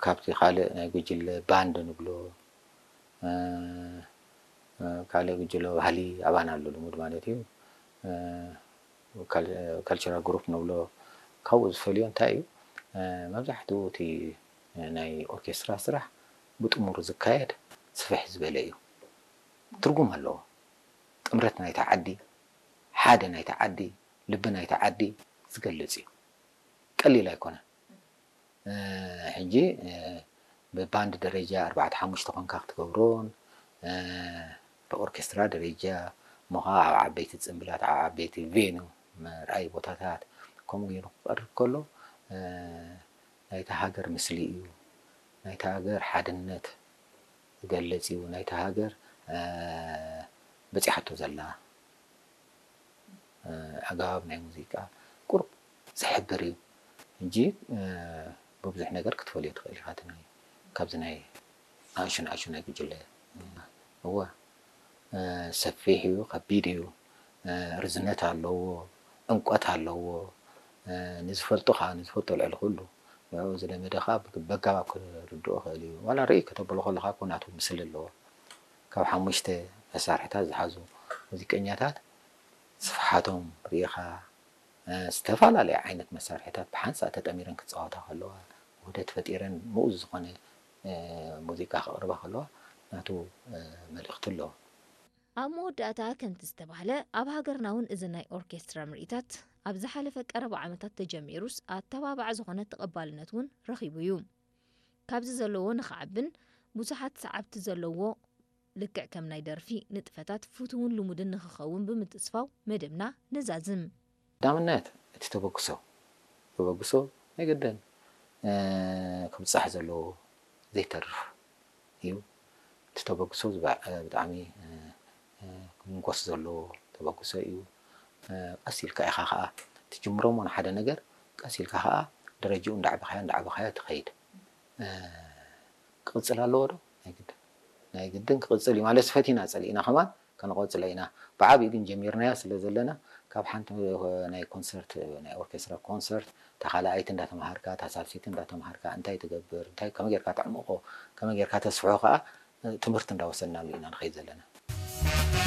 ካብቲ ካልእ ናይ ጉጅለ ባንድ ንብሎ፣ ካልእ ጉጅለ ባህሊ ኣባና ኣሎ ልሙድ ማለት እዩ። ካልቸራል ግሩፕ ንብሎ። ካብኡ ዝፈልዮ እንታይ እዩ? መብዛሕትኡ እቲ ናይ ኦርኬስትራ ስራሕ ብጥሙር ዝካየድ ስፍሕ ዝበለ እዩ። ትርጉም ኣለዎ። ጥምረት ናይታ ዓዲ፣ ሓደ ናይታ ዓዲ፣ ልቢ ናይታ ዓዲ ዝገልጽ እዩ። ቀሊል ኣይኮነን። ሕጂ ብባንድ ደረጃ ኣርባዕተ ሓሙሽተ ኮንካ ክትገብሮን፣ ብኦርኬስትራ ደረጃ እሞ ከዓ ኣብ ዓበይቲ ጽምብላት፣ ኣብ ዓበይቲ ቬኑ፣ መርኣይ ቦታታት ከምኡ ገይሩ ክቐርብ ከሎ ናይታ ሃገር ምስሊ እዩ። ናይታ ሃገር ሓድነት ዝገልጽ እዩ። ናይታ ሃገር በጺሓቶ ዘላ ኣገባብ ናይ ሙዚቃ ቁሩብ ዝሕብር እዩ። ሕጂ ብብዙሕ ነገር ክትፈልዮ ትኽእል ኢኻ። እቲ ናይ ካብዚ ናይ ንኣሽቱ ንኣሽቱ ናይ ጉጅለ እወ ሰፊሕ እዩ፣ ከቢድ እዩ፣ ርዝነት ኣለዎ፣ ዕምቆት ኣለዎ። ንዝፈልጦ ከዓ ንዝፈልጦ ልዕሊ ኩሉ ንዕኡ ዝለመደ ከዓ በጋባብ ክርድኦ ክእል እዩ። ዋላ ርእይ ከተብሎ ከለካ እኮ ናቱ ምስል ኣለዎ። ካብ ሓሙሽተ መሳርሕታት ዝሓዙ ሙዚቀኛታት ስፍሓቶም ርኢኻ፣ ዝተፈላለየ ዓይነት መሳርሕታት ብሓንሳእ ተጠሚረን ክፃወታ ከለዋ፣ ውህደት ፈጢረን ምኡዝ ዝኾነ ሙዚቃ ከቕርባ ከለዋ ናቱ መልእኽቲ ኣለዎ። ኣብ መወዳእታ ከምቲ ዝተባህለ ኣብ ሃገርና እውን እዚ ናይ ኦርኬስትራ ምርኢታት ኣብ ዝሓለፈ ቀረባ ዓመታት ተጀሚሩስ ኣተባባዕ ዝኾነ ተቐባልነት እውን ረኺቡ እዩ። ካብዚ ዘለዎ ንኽዓብን ብዙሓት ሰዓብቲ ዘለዎ ልክዕ ከም ናይ ደርፊ ንጥፈታት ፍቱውን ልሙድን ንኽኸውን ብምትስፋው መደብና ነዛዝም። ቀዳምነት እቲ ተበግሶ ተበግሶ ናይ ግድን ክብጻሕ ዘለዎ ዘይተርፍ እዩ። እቲ ተበግሶ ብጣዕሚ ክምንኮስ ዘለዎ ተበግሶ እዩ። ቀስ ኢልካ ኢኻ ከዓ ትጅምሮ እሞ ንሓደ ነገር ቀስ ኢልካ ከዓ ደረጃኡ እንዳዕበኻዮ እንዳዕበኻዮ ትኸይድ። ክቕፅል ኣለዎ ዶ? ናይ ግድን ናይ ግድን ክቕፅል እዩ ማለት ፈቲና ፀሊእና ከማን ከነቆፅሎ ኢና። ብዓብዩ ግን ጀሚርናዮ ስለ ዘለና ካብ ሓንቲ ናይ ኮንሰርት ናይ ኦርኬስትራ ኮንሰርት እታ ካልኣይቲ እንዳተምሃርካ እታ ሳልሰይቲ እንዳተምሃርካ እንታይ ትገብር እንታይ ከመይ ጌርካ ተዕምቆ ከመይ ጌርካ ተስፍሖ ከዓ ትምህርቲ እንዳወሰድናሉ ኢና ንኸይድ ዘለና።